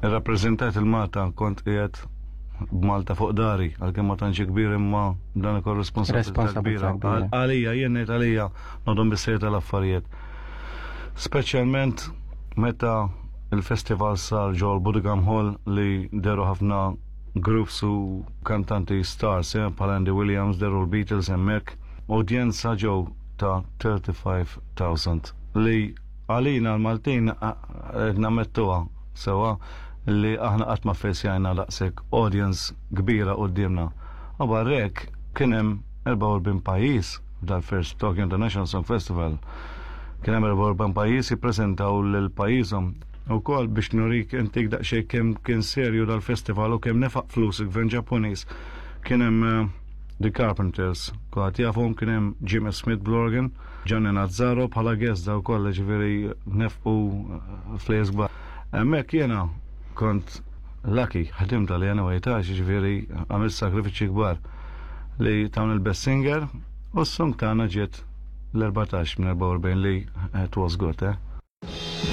Irrappreżentajt il-Malta, kont qiegħed b'Malta fuq dari, għalkemm ma tantx kbir, imma dan ukoll responsabilità kbira. Għalija, jien ngħid għalija nodhom bis tal-affarijiet. Speċjalment meta il-festival sar ġol Budokan Hall li deru ħafna groups u kantanti stars, bħal Andy Williams, deru l-Beatles hemmhekk, udjenza ġew ta' 35,000 li għalina l-Maltin nammettuha sewa li aħna qatt ma ffejsjajna daqshekk audience kbira quddiemna. U barrek kien hemm 44 pajjiż dal-First Tokyo International Song Festival. Kien hemm 44 pajjiż jippreżentaw lil pajjiżhom. Ukoll biex nurik intik daqsxejn kemm kien serju dal-festival u kemm nefaq flus il-gvern Ġappuniż. Kien hemm The Carpenters, kulħadd jafhom, kien hemm Jimmy Smith bl-organ, Gianni Nazzaro bħala guest, daw kollha ġifieri nefqu flejjes kbar. Hemmhekk jiena kont lucky, ħdimt għalija anyway ta', ġifieri għamilt sakrifiċċji kbar li tawn il-best singer u s-song tagħna ġiet l-14 minn 44 li it was good, eh?